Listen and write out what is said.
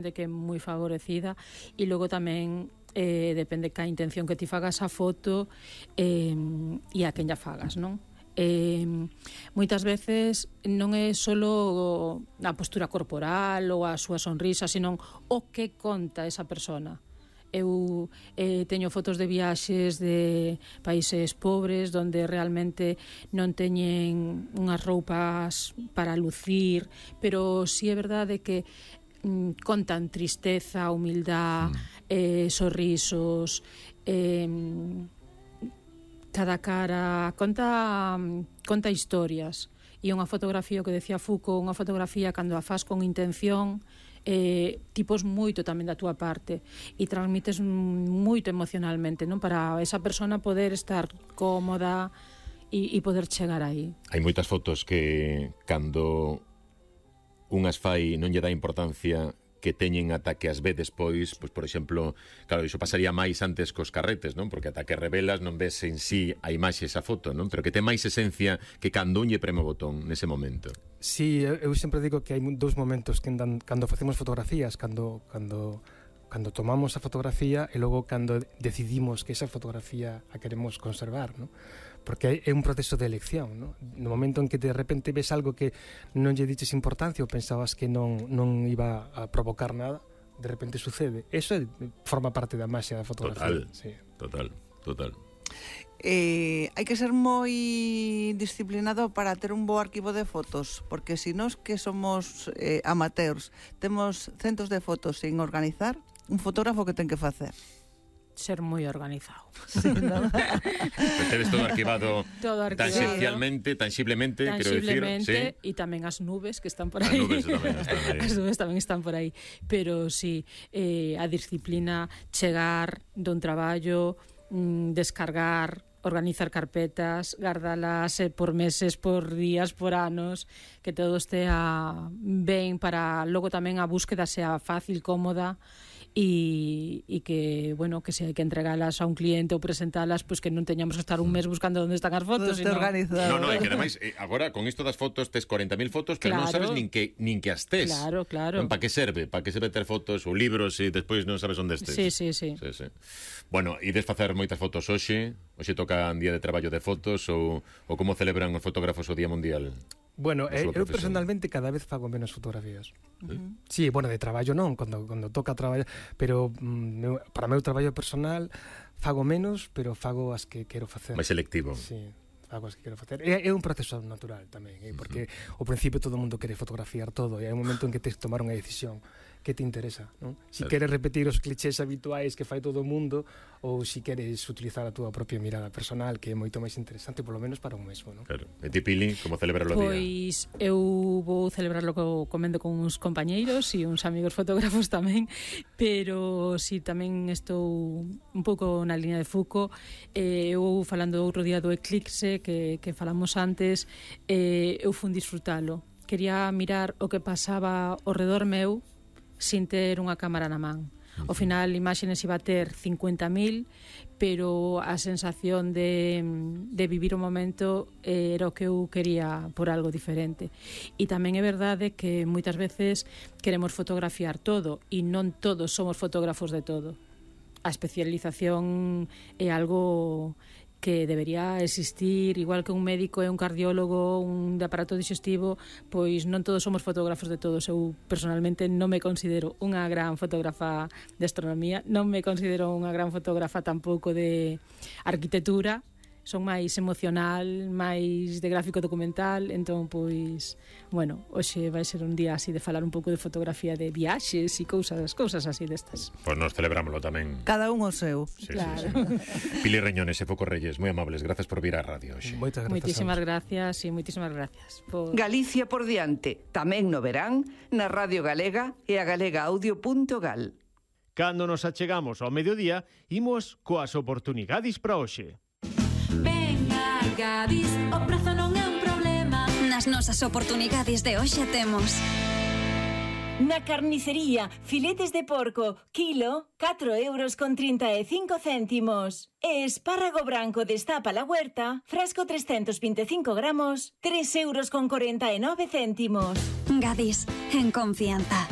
de que é moi favorecida, e logo tamén depende ca intención que ti fagas a foto e a quen lla fagas, non? Moitas veces non é solo a postura corporal ou a súa sonrisa, senón o que conta esa persona. Eu teño fotos de viaxes de países pobres onde realmente non teñen unhas roupas para lucir, pero si é verdade que contan tristeza, humildad, sorrisos, cada cara conta historias. E unha fotografía, o que decía Foucault, unha fotografía cando a faz con intención, tipos moito tamén da túa parte e transmites moito emocionalmente, non? Para esa persona poder estar cómoda e poder chegar aí. Hai moitas fotos que cando unhas fai non lle dá importancia que teñen ata que as ve despois, pois por exemplo, claro, iso pasaría máis antes cos carretes, non? Porque ata que revelas non ves en sí a imaxe esa foto, non? Pero que ten máis esencia que cando un lle preme o botón nese momento. Sí, eu sempre digo que hai dous momentos que cando facemos fotografías, cando tomamos a fotografía e logo cando decidimos que esa fotografía a queremos conservar, non? Porque é un proceso de elección, non? No momento en que de repente ves algo que non lle diches importancia ou pensabas que non iba a provocar nada, de repente sucede. Eso forma parte da maxia da fotografía. Total. Hai que ser moi disciplinado para ter un bo arquivo de fotos, porque se nós que somos amateurs temos centos de fotos sin organizar, un fotógrafo que ten que facer? Ser moi organizado. Sí, ¿no? Tedes todo arquivado tangiblemente, quero dicir, sí. E tamén as nubes que están por aí. As nubes tamén están por aí. Pero sí, a disciplina, chegar dun traballo, descargar, organizar carpetas, guardalas por meses, por días, por anos, que todo estea ben para logo tamén a búsqueda sea fácil, cómoda, e que, bueno, que se hai que entregalas a un cliente ou presentalas, pois que non teñamos que estar un mes buscando onde están as fotos, sino organizado. No, e que ademais agora con isto das fotos tes 40.000 fotos, pero non sabes nin que as tes. Claro. Para que serve? Para que serve ter fotos ou libros e despois non sabes onde estes? Sí. Bueno, ides facer moitas fotos hoxe toca un día de traballo de fotos ou como celebran os fotógrafos o Día Mundial? Bueno, eu personalmente cada vez fago menos fotografías. Sí, bueno, de traballo non, cando toca traballar, pero para meu traballo personal fago menos, pero fago as que quero facer. Mais selectivo. Sí, fago as que quero facer. É un proceso natural tamén, porque ao principio todo o mundo quere fotografiar todo e hai un momento en que tens que tomar unha decisión que te interesa, non? Si queres repetir os clichés habituais que fai todo o mundo ou si queres utilizar a túa propia mirada personal, que é moito máis interesante, polo menos para un mesmo, non? Claro. E ti, Pili, como celebrarlo o día? Pois eu vou celebrarlo comendo con uns compañeiros e uns amigos fotógrafos tamén, pero si tamén estou un pouco na línea de Foucault. Eu falando outro día do eclipse que falamos antes, eu fun disfrutalo. Quería mirar o que pasaba ao redor meu sin ter unha cámara na man. Ao final, imaxes iba a ter 50.000, pero a sensación de vivir o momento era o que eu quería por algo diferente. E tamén é verdade que moitas veces queremos fotografiar todo e non todos somos fotógrafos de todo. A especialización é algo que debería existir, igual que un médico e un cardiólogo, un de aparato digestivo, pois non todos somos fotógrafos de todos. Eu personalmente non me considero unha gran fotógrafa de astronomía, non me considero unha gran fotógrafa tampouco de arquitectura, son máis emocional, máis de gráfico documental, entón, pois, bueno, hoxe vai ser un día así de falar un pouco de fotografía de viaxes e cousas así destas. Pois nos celebrámoslo tamén. Cada un o seu. Sí, claro. Sí. Pili Reñones e Foco Reyes, moi amables, grazas por vir á radio hoxe. Moitísimas gracias. Galicia por diante, tamén no verán, na Radio Galega e a galegaaudio.gal. Cando nos achegamos ao mediodía, imos coas oportunidades para hoxe. Venga, Gadis, o prezo non é un problema. Nas nosas oportunidades de hoxe temos na carnicería, filetes de porco, kilo, 4,35 €. E espárrago branco destapa la huerta, frasco 325 gramos, 3,49 €. Gadis, en confianza.